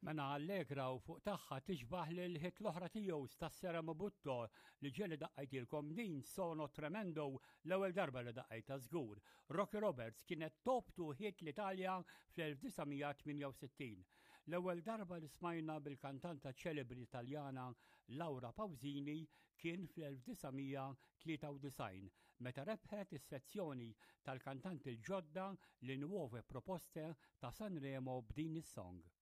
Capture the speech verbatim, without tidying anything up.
Mena Allegra u fuq tagħha tixbaħ lil hit l-oħra tiegħu Stasera Mi Butto li ġieli daqqajtilkom din Sono Tremendo l-ewwel darba li daqqajta żgur. Rocky Roberts kienet top two hit l-Italja fl-elf disa' mija tmienja u sittin. L-ewwel darba li smajna bil-kantanta ċelebri Italjana Laura Pausini kien fl-elf disa' mija tlieta u disgħin meta rebħet is-sezzjoni tal-kantanti l-ġodda, Le Nuove Proposte, ta' Sanremo b'din is-song.